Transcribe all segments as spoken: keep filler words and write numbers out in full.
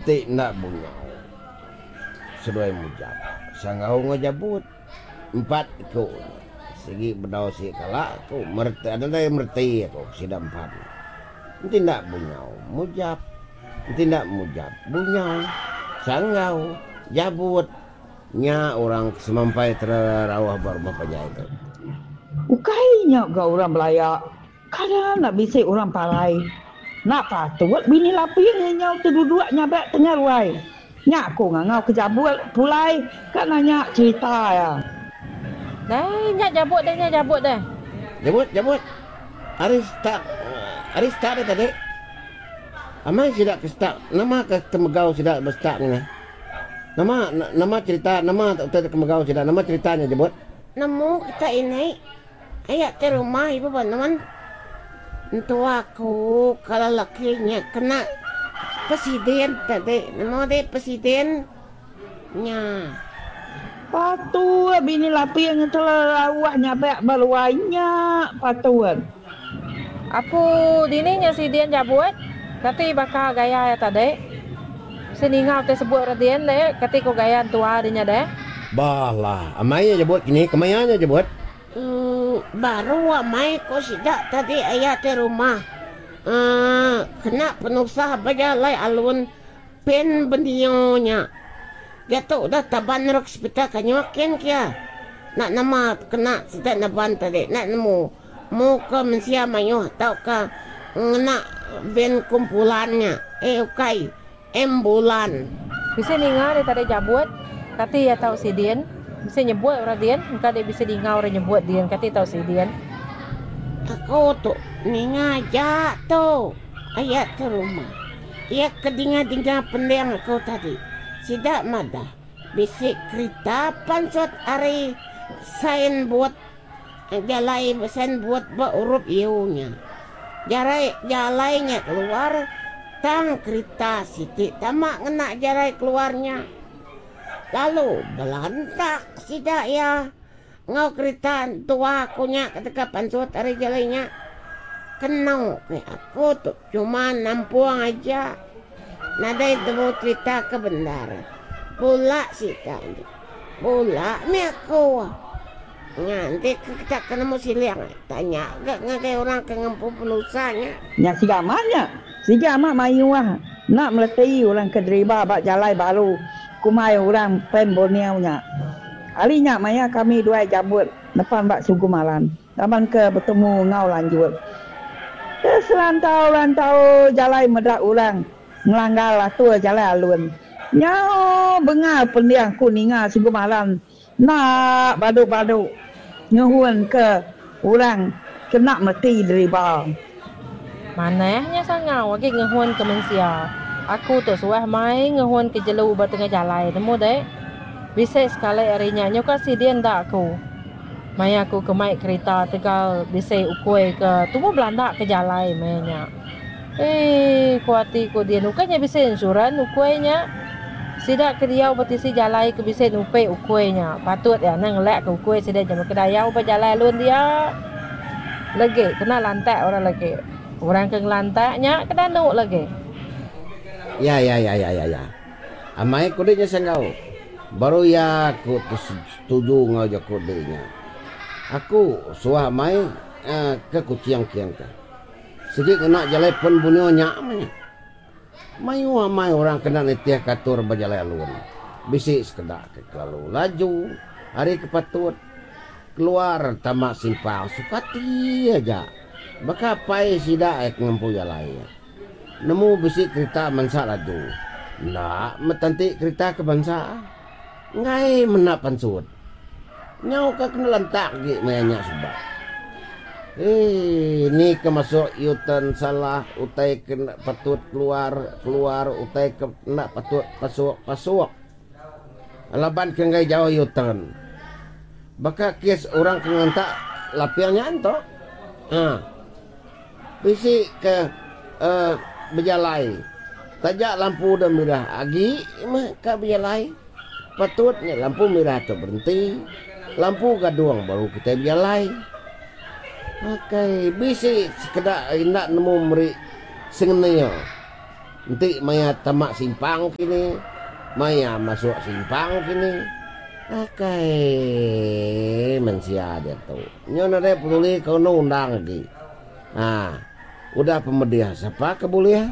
Enti enda Bunyau seduai Mujap Sanggau enggau Jabut empat iku nya sigi bedau sigi kala ku mereti nadai mereti aku sida empat nya. Enti enda Bunyau Mujap enti enda Mujap Bunyau Sanggau Jabut nya orang ke semampai terauh ba rumah panjai tu. Ukai nya ga orang belaya kada enda bisi orang parai. Enda patut bini Laping nyau teduduk nyabak tengah ruai. Nya aku ngangau ke Jabut pulai ka nanya cherita iya. Dai nya Jabut deh nya Jabut deh. Jabut Jabut ari start ari start deh tadi. Amai sida ke start nama ke temegau sida ba start nya neh. Nama nama cherita nama utai ke megau sida nama cherita nya Jabut. Nemu kita ini aya ti rumah ibu ba nuan. Entua aku kala laki nya kena pesiden tadi nemu deh pesiden nya. Patut bini Laping terauh nyabak ba ruai nya patut. Apu dini nya sidin jabut kati baka gaya iya tadi. Bisi ninga utai sebut orang din deh kati ko gaya entua di nya deh. Bah lah amai nya jabut kini kemaya nya jabut. Emm baru amai ko sida tadi aya ti rumah emm kena penusah bejalai alun pen benio nya. Diatu udah taban rok sepital kanyuh kin kia. Enda nama kena sida neban tadi enda nemu mu ke mensia mayuh tauka ngena van kumpulan nya eh ukai Ambulan. Bisi ninga deh tadi jabut kati iya tau sidin bisi nyebut orang din engka deh bisi dinga orang nyebut din kati tau sidin. Aku tu ninga aja tu aya tu rumah. Iya ke dinga-dinga pending aku tadi sida madah bisi kerita pansut ari sign board jalai sign board ba urup U nya. Jarai jalai nya keluar tang kerita siti tama ngena jalai keluar nya. Lalu belantak sida iya enggau kerita entua aku nya ke deka pansut ari jalai nya. Kenu ke aku tu cuma nampung aja nadai temu cerita ke bendar. Bula sida nya. Bula mih aku. Nya enti ke kita ke nemu siling tanya ga ngagai orang ke ngempu penusah nya. Nya siga amat nya. Siga amat mayuh enda meleti orang ke deriba ba jalai baru kumbai orang Pan Borneo nya. Ari nya maya kami duai jabut nepan ba Sugu Malan laban ke betemu enggau lanjut. Ke serantau-rantau jalai meda orang ngelanggar atur jalai alun. Nyau bengal pending ku ninga Sugu Malan Enda badu-badu ngehun ke orang ke enda mereti deriba. Manah nya sangau agi ngehun ke mensia. Aku tu suah mai ngehun ke jelu ba tengah jalai nemu dek. Bisi sekali ari nya nyuka sidi enda aku. Maya aku ke mai kerita tegal bisi ukui ke tumu belanda ke jalai maya nya. Eii ku ati ku din ukai nya bisi insurans ukui nya. Sida ke diau ba tisi jalai ke bisi nupi ukui nya patut iya anang ngelak ke ukui sida nya meka dayau ba jalai alun dia. Legi kena lantak orang legi. Orang ke ngelantak nya ke danu legi. Ya ya ya ya ya ya. Amai ku dek nya sanggau. Baru iya aku tu setuju enggau jaku dek nya. Aku suah amai ke Kuching kin ka. Sigi ngena jalai pen Borneo nya meh nya. Mayuh amai orang kena nitihka atur ba jalai alun. Bisi sekeda ke kelalu laju ari ke patut keluar tama simpang suka ati aja baka apai sida ke ngempu jalai. Nemu bisi kerita mansa laju enda meh tenti kerita ke bansa enggai menda pansut. Nyau ka kena lantak agi maya nya suba. Eii ni ke masuk U-turn salah utai ke enda patut keluar keluar utai ke enda patut pasuk pasuk. Laban ke enggai jauh U-turn. Baka kes orang ke ngentak laping nya ento. Ha. Bisi ke uhh bejalai taja lampu udah mirah agi meh ka bejalai. Patut nya lampu mirah tu berenti, lampu gadung baru kitai bejalai. Akai bisi sekeda enda nemu meri sengenil. Enti maya tama simpang kini, maya masuk simpang kini. Akai mensia diatu. Nyu nadai peduli ke undang-undang agi. Ha, udah pemedih sapa ke bulih?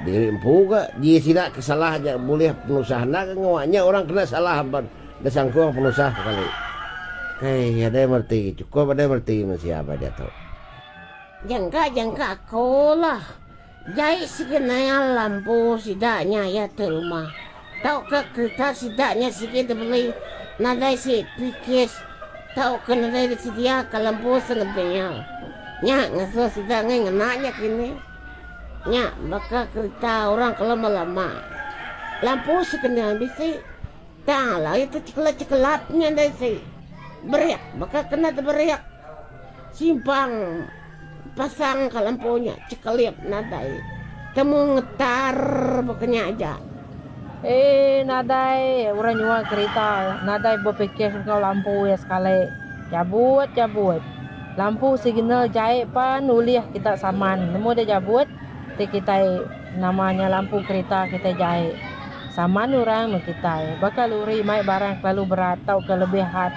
Diri empu ga ji sida ke salah aja bulih penusah enda ke ngawa nya orang kena salah ba disangkung penusah sekali. Kai adai mereti chukup adai mereti mensia ba diatu. Jangka jangka aku lah. Jai sigi naya lampu sida nya iya ti rumah. Tauka kerita sida nya sigi dibeli nadai si pikis tauka nadai disediaka lampu sengebil. Nya ngasuh sida ngai ngena nya kini. Nya baka kerita orang ke lama-lama. Lampu sekenil bisi tang alai ti cekelap-cekelap nya ndai si. Berik baka kena teberik simpang pasang ka lampu nya cekelip nadai temu ngetar baka nya aja. Eh nadai orang nyual kerita nadai bepikir enggau lampu iya sekali jabut jabut. Lampu signal jai pan ulih kita saman nemu deh jabut ti kitai nama nya lampu kerita kitai jai. Saman orang meh kitai baka luri mai barang kelalu berat tauka lebih had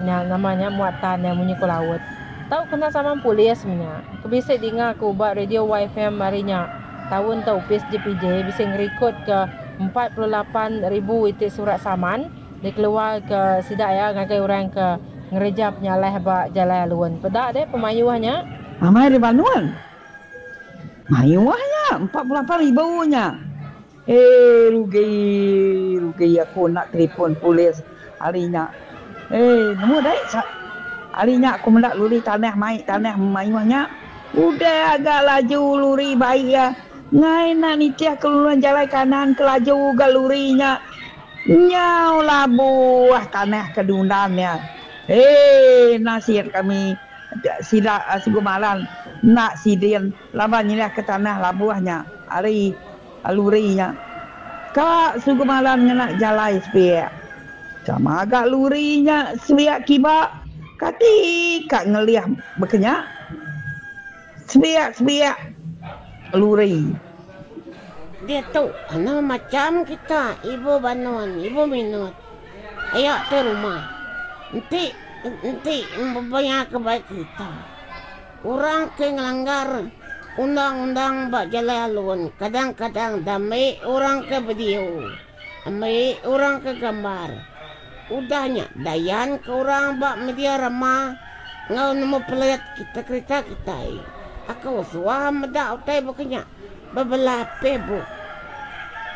nya nama nya muatan nya munyi ku laut. Tau kena saman polis meh nya. Ke bisi dinga ku ba radio Y F M hari nya taun tu opis J P J bisi ngerikod ke empat puluh lapan ribu iti surat saman dikeluar ke sida iya ngagai orang ke ngereja penyalah ba jalai alun. Peda deh pemayuh nya. Amai riba nuan. Mayuh nya empat puluh lapan ribu nya. Eh rugi rugi aku enda telefon polis hari nya. Eh nemu deh hari nya aku meda luri tanah mai tanah mayuh nya. Udah agak laju luri bai iya. Ngai enda nitih ke lurung jalai kanan ke laju ga luri nya. Nyau labuh tanah ke diundan iya. Eh nasib kami sida Sigu Malan enda sidin laban nyeliah ke tanah labuh nya ari luri nya. Ka Sigu Malan ngena jalai sepiak. Sama agak luri nya sepiak kiba kati ka ngelih bekenya. Sepiak-sepiak luri. Diatu anu macam kita ibu banun, ibu minut. Aya ti rumah. Enti enti bebaya ke bai kerita. Orang ke ngelanggar undang-undang ba jalai alun kadang-kadang dami orang ke video, ambi orang ke gambar. Udah nya dayan ke orang ba media rama enggau nemu pelet kita kerita kitai. Aku suah meda utai baka nya bebelah Facebook.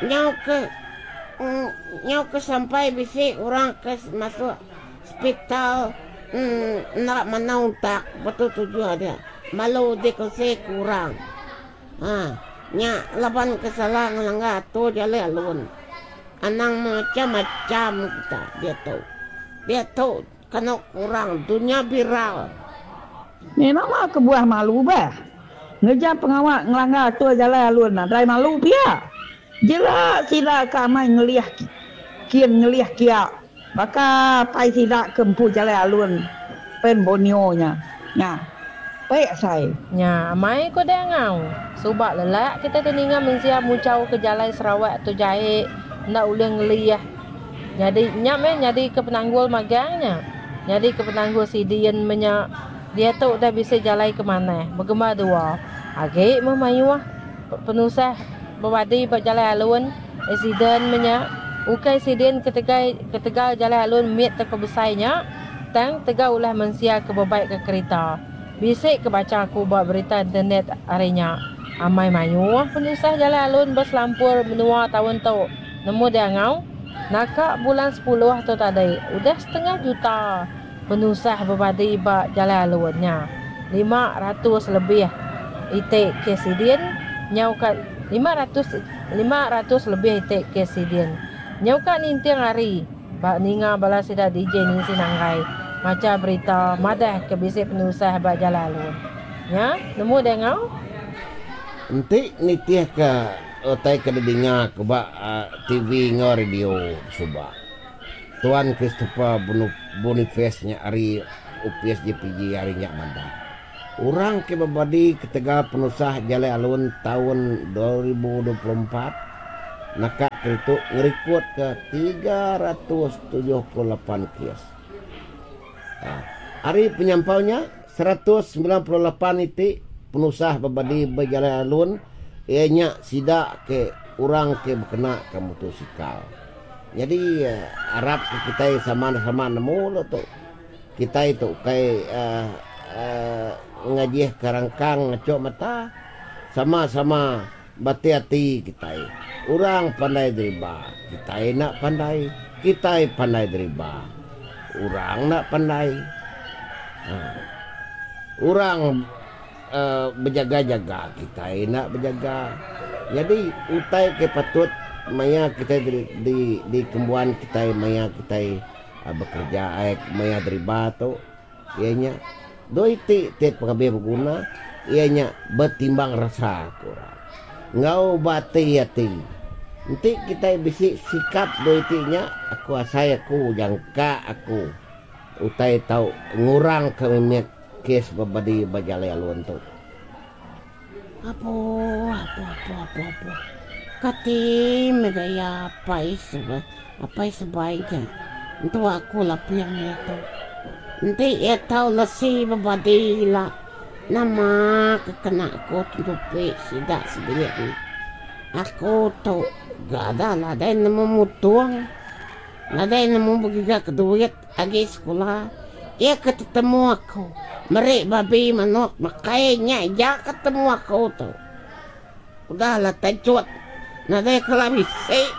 Nyau ke nyau ke sampai bisi orang ke masuk hospital enda manah untak betul tujuh dia. Malu dikongsi ke orang. Ha, nya laban ke salah ngelanggar atur jalai alun. Anang macam-macam kita diatu. Diatu kena kurang dunia viral. Ni nama kebuah malu bah. Ngereja pengawa ngelanggar atur jalai alun nadai malu pia. Jela sida ke amai ngelih kin ngelih kia baka pai sida ke empu jalai alun Pan Borneo nya. Nya. Baik sai. Nya amai ko deh ngau. Suba lelak kita tu ninga mensia muchau ke jalai Sarawak tu jai enda ulih ngelih. Nyadi nya meh nyadi ke penanggul magang nya. Nyadi ke penanggul sidin menya diatu udah bisi jalai ke manah begembar dua. Agi meh mayuh penusah bebadi ba jalai alun accident menya ukai sidin ketegal ketegal jalai alun mit tauka besai nya tang tegal ulah mensia ke bebai ke kerita. Bisi ke bacha aku ba berita internet hari nya. Amai mayuh penusah jalai alun ba selampur menua taun tu. Nemu deh ngau. Naka bulan sepuluh tu tadi udah setengah juta penusah bebadi ba jalai alun nya. Lima ratus lebih iti kes sidin nyau ka lima ratus lima ratus lebih iti kes sidin. Nyau ka ninting hari ba ninga bala sida D J Nancy Nanggai macha berita madah ke bisi penusah ba jalai alun. Nya nemu deh ngau. Enti nitih ke utai ke didinga ke ba uh, T V enggau radio suba. Tuan Christopher Boniface nya ari U P S J P J hari nya madah. Orang ke bebadi ketegal penusah jalai alun taun dua ribu dua puluh empat naka ke ditu ngerikodka tiga ratus tujuh puluh lapan kes. Ari penyampau nya, seratus semilan puluh lapan iti penusah bebadi ba jalai alun iya nya sida ke orang ke bekenaka motosikal. Nyadi arap ke kitai sama-sama nemu lu tu. Kitai tu ukai uhh ngajih ke rangkang ngachuk mata, sama-sama bati ati kitai. Orang pandai deriba, kitai enda pandai, kitai pandai deriba, orang enda pandai. Uhh orang uhh bejaga-jaga, kitai enda bejaga. Nyadi utai ke patut maya kitai di dikembuan kitai maya kitai bekereja ai maya deriba tu iya nya dua iti ti pengabih beguna iya nya betimbang rasa ku orang enggau beati ati. Enti kitai bisi sikap dua iti nya aku asai aku jangka aku utai tau ngurangka mimit kes bebadi ba jalai alun tu. Apo apo apo apo apo kati mega iya apai sebai apai sebai nya entu aku laping iya tu. Enti iya tau lesi bebadi ila nama ke kena aku tentupi sida sebilik nya. Aku tu ga nadai nemu mutung nadai nemu begiga ke duit agi sekula. Iya ke tetemu aku meri babi manuk makai nya aja ke temu aku tu. Udah lah tacut nadai kala bisi.